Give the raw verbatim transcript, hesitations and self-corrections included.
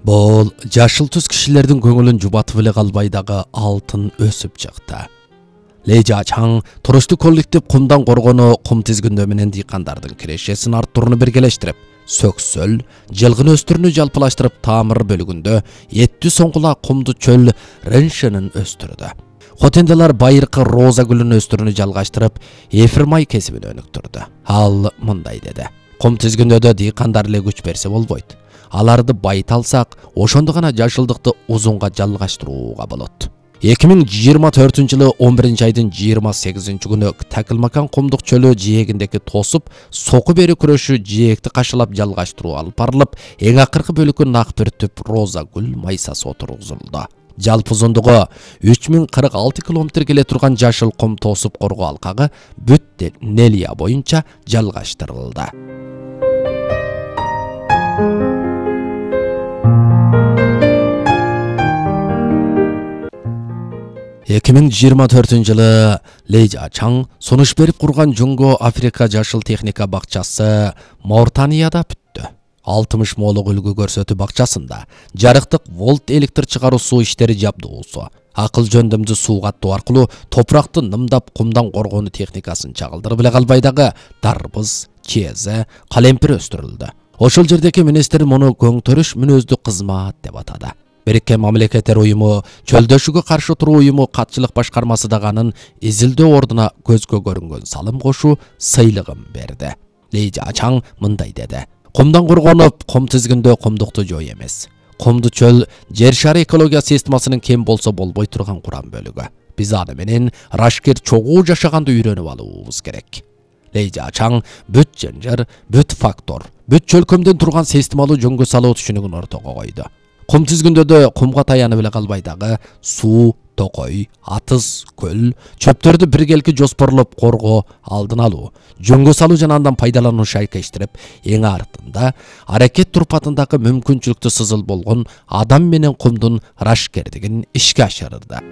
Бул жашыл түс кишилердин көңүлүн жубатып эле калбай дагы алтын өсүп чыкты. Лейжачаң туруштук коллектив кумдан коргону кум тизгиндөө менен дыйкандардын кирешесин арттырууну биргелештирип, сөксөл, жылгын өстүрүнү жалпылаштырып таамыр бөлүгүндө эттүү соңгула кумду чөл реншенин өстүрдү. Хотенделар байыркы роза гүлүн өстүрүнү жалгаштырып, эфир май кесибин өнүктүрдү. Ал мындай деди: кум тизгиндөөдө дыйкандар эле күч берсе болбойт. Аларды байыта алсак, ошондо гана жашылдыкты узунга жалгаштырууга болот. эки миң жыйырма төртүнчү жылы он биринчи айдын жыйырма сегизинчи күнү Такылмакан кумдук чөлү жээгиндеги тосуп, соку бери күрөшү жээкти кашылап жалгаштыруу алып барылып, эң акыркы бөлүккө нак бир түп роза гүл майсасы отургузулду. Жалпы узундугу үч миң кырк алты километр келе турган жашыл кум тосуп коргоо алкагы бүт Нелия боюнча жалгаштырылды. эки миң жыйырма төртүнчү жылы Лейжачаң сунуш берип курган Жуңго Африка жашыл техника бакчасы Мауritанияда бүттү. алтымыш молук үлгү көрсөтүү бакчасында жарыктык волт электр чыгаруу суу иштери жабдуусу, акыл жөндөмдүү суу каттоо аркылуу топуракты нымдап кумдан коргонуу техникасын чагылдырып эле калбай дагы дарбыз, чезе, калемпир өстүрүлдү. Ошол жердеки министр муну көңтөрүш мүнөздүү кызмат деп атады. Бириккен Мамлекеттер уюму чөлдөшүүгө каршы туруу уюму катчылык башкармасы дагы анын изилдөө ордуна көзгө көрүнгөн салым кошуу сыйлыгын берди. Лейжачаң мындай деди: кумдан коргонуп, кум тизгиндөө кумдукту жой эмес. Кумду чөл жер шары экология системасынын кем болсо болбой турган курам бөлүгү. Биз аны менен рашкер чогуу жашаганды үйрөнүп алуубуз керек. Лейжачаң бүт жынжыр, бүт фактор, бүт чөлкөмдөн турган системалуу жөнгө салуу түшүнүгүн ортого койду. Кум тизгиндөөдө кумга таянып эле калбай дагы суу, токой, атыз, көл, чөптөрдү биргелки жоспорлоп коргоо, алдын алуу, жөнгө салуу жана андан пайдалануу шайкештирип, эң артында аракет турпатындагы мүмкүнчүлүктүү сызыл болгон адам менен кумдун рашкердигин ишке ашырды.